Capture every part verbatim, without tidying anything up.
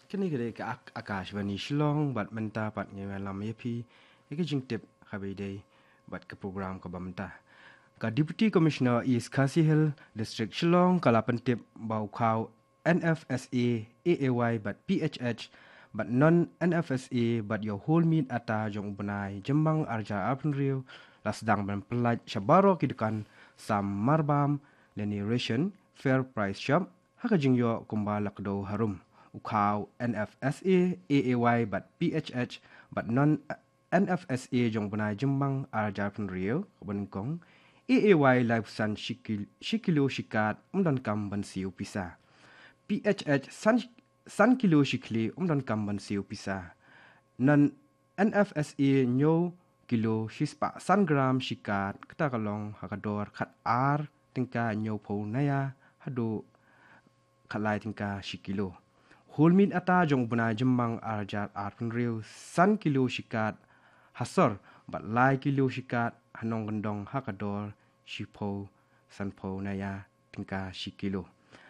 Kane ka dei ka Ak-, Akashvani Shillong, bad mynta pat ngi wan lam ïa phi ïa ka jingtip ha kaba ïadei bad ka program kaba mynta. Ka Deputy Commissioner East Khasi Hills District Shillong ka la pyntip ba u khaw N F S A, A A Y bad P H H bad non N F S A bad ïa u whole meat atta jong u bnai Jymmang arhajar arphew hynriew la sdang ban pyllait sha baroh ki dukan sam marbam lane ration, fair price shop, ha ka jingïoh kumba la kdew harum. U khaw N F S A, A A Y bad P H H bad non N F S A jong u bnai Jymmang arhajar arphew hynriew kaba nyngkong, A A Y laiphew san shi kil-, shi kilo shi kat, ym donkam ban siew pisa. P H H san, san kilo shi khlieh, ym donkam ban siew pisa. Non N F S A hynñiew kilo shi spah san gram shi kat, kata ka long ha ka dor khatar tyngka hynñiewphew naya haduh khatlai tyngka shi kilo. Whole meat atta jong u bnai Jymmang arhajar arphew hynriew, san kilo shi kat ha sor bad lai kilo shi kat ha nongkyndong ha ka dor shiphew sanphew naya tyngka shi kilo.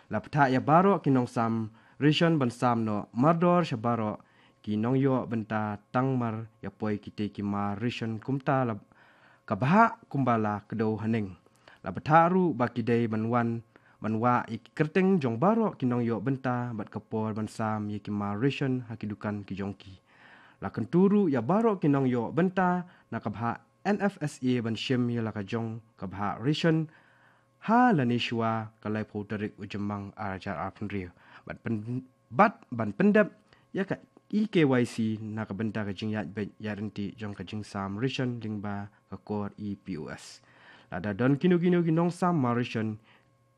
La bthah ïa baroh ki nongsam ration ban sam noh mardor sha baroh ki nongïoh bynta tang mar ïa poi kitei ki mar ration kumta la ka bhah kumba la kdew haneng. La bthah ruh ba ki dei ban wan ban wah ïa ki kyrteng jong baroh ki nongïoh bynta bad ka por ban sam ïa ki mar ration ha ki dukan ki jong ki. La kyntu ruh ïa baroh ki nongïoh bynta na ka bhah N F S A ban shim ïa la ka jong ka bhah ration ha lane shuwa ka laiphew tarik u Jymmang arhajar arphew hynriew. Bad pyn-, bad ban pyndep ïa ka e-K Y C na ka bynta ka jingïaid beit ïaid ryntih jong ka jingsam ration lyngba ka kor e-P O S. Lada don kino kino ki nongsam mar ration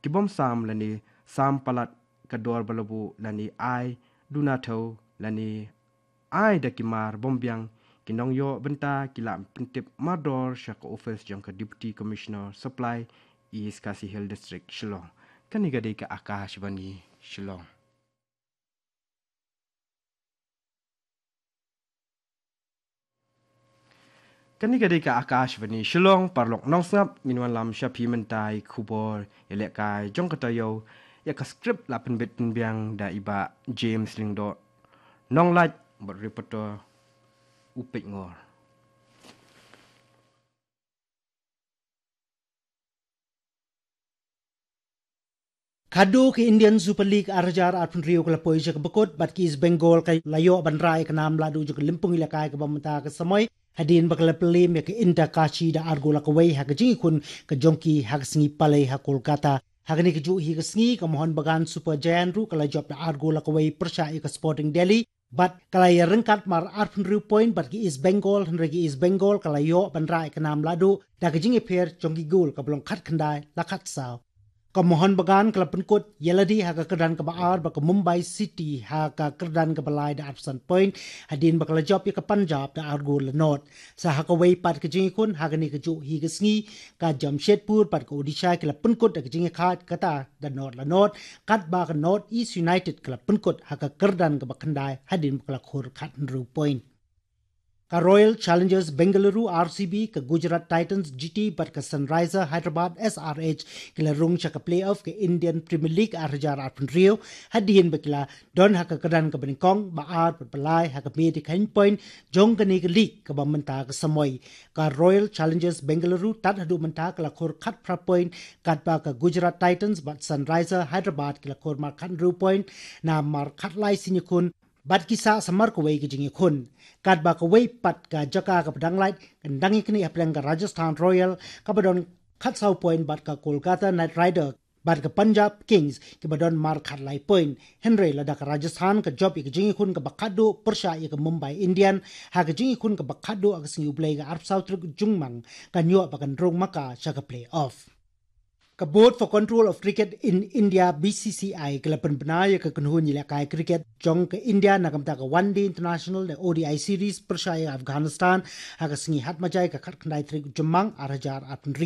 ki bym sam lane sam palat ka dor ba la buh lane ai duna thew lane ai da ki mar bym biang, ki nongïoh bynta ki lah pyntip mardor sha ka office jong ka Deputy Commissioner Supply, East Khasi Hills District, Shillong. Kane ka dei ka Akashvani Shillong. Kane ka dei ka Akashvani Shillong, paralok nongsngap, ngin wan lam sha phi mynta ïa ki khubor ïalehkai jong ka taïew. Ïa ka script la pynbit pynbiang da i Bah James Lyngdoh, nonglait bad reporter u Peit Ngor. Khadduh ka Indian Super League arhajar arphew hynriew ka la poi sha kaba kut bad ka East Bengal ka la ïoh ban rah ïa ka nam lahduh jong ka lympung ïalehkai kaba mynta ka samoi, hadien ba ka la pynliem ïa ka Inter Kashi da ar gol la kawei ha ka jingïakhun ka jong ki ha ka sngi Palei ha Kolkata. Ha kane kajuh hi ka sngi ka Mohun Bagan Super Giant ruh ka la jop da ar gol la kawei pyrshah ïa ka Sporting Delhi, bad ka la ïaryngkat mar arphew hynriew point bad ka East Bengal, hynrei ka East Bengal ka la ïoh ban rah ïa ka nam lahduh da ka jingïapher jong ki gol kaba long khatkhyndai la khatsaw. Ka Mohun Bagan ka la pynkut ïalade ha ka kyrdan kaba ar bad ka Mumbai City ha ka kyrdan kaba lai da arphew san point, hadien ba ka la jop ïa ka Punjab da ar gol la nod. Sa ha kawei pat ka jingïakhun ha kane kajuh hi ka sngi, ka Jamshedpur bad ka Odisha ki la pynkut da ka jingïakhaid kata da nod la nod, katba ka North East United ka la pynkut ha ka kyrdan kaba khyndai hadien ba ka la khur khathynriew point. Ka Royal Challengers Bengaluru, R C B, ka Gujarat Titans, G T, bad ka Sunrisers Hyderabad, S R H, ki la rung sha ka playoff ka Indian Premier League arhajar arphew hynriew, hadien ba ki la don ha ka kyrdan kaba nyngkong, ba ar bad ba lai ha ka miet jingkheiñ point jong kane ka league kaba mynta ka samoi. Ka Royal Challengers Bengaluru tad haduh mynta ka la khur khatphra point, katba ka Gujarat Titans bad Sunrisers Hyderabad ki la khur mar khathynriew point na mar khatlai sien ïakhun, bad ki sah samar kawei ka jingïakhun. Katba kawei pat ka jaka kaba dang lait kan dang ïaknieh hapdeng ka Rajasthan Royals kaba don khatsaw point bad ka Kolkata Knight Riders bad ka Punjab Kings kiba don mar khatlai point. Hynrei lada ka Rajasthan ka jop ïa ka jingïakhun kaba khatduh pyrshah ïa ka Mumbai Indians ha ka jingïakhun kaba khatduh ha ka sngi U Blei ka arphew saw tarik Jymmang, kan ïoh ba kan rung ma ka sha ka playoff. Ka Board for Control of Cricket in India, B C C I, ka la pynbna ïa ka kynhun ïalehkai cricket jong ka India na ka bynta ka One Day International ne O D I Series pyrshah ïa Afghanistan ha ka sngi Hatmaja ka khatkhyndai tarik Jymmang arhajar arphew hynriew.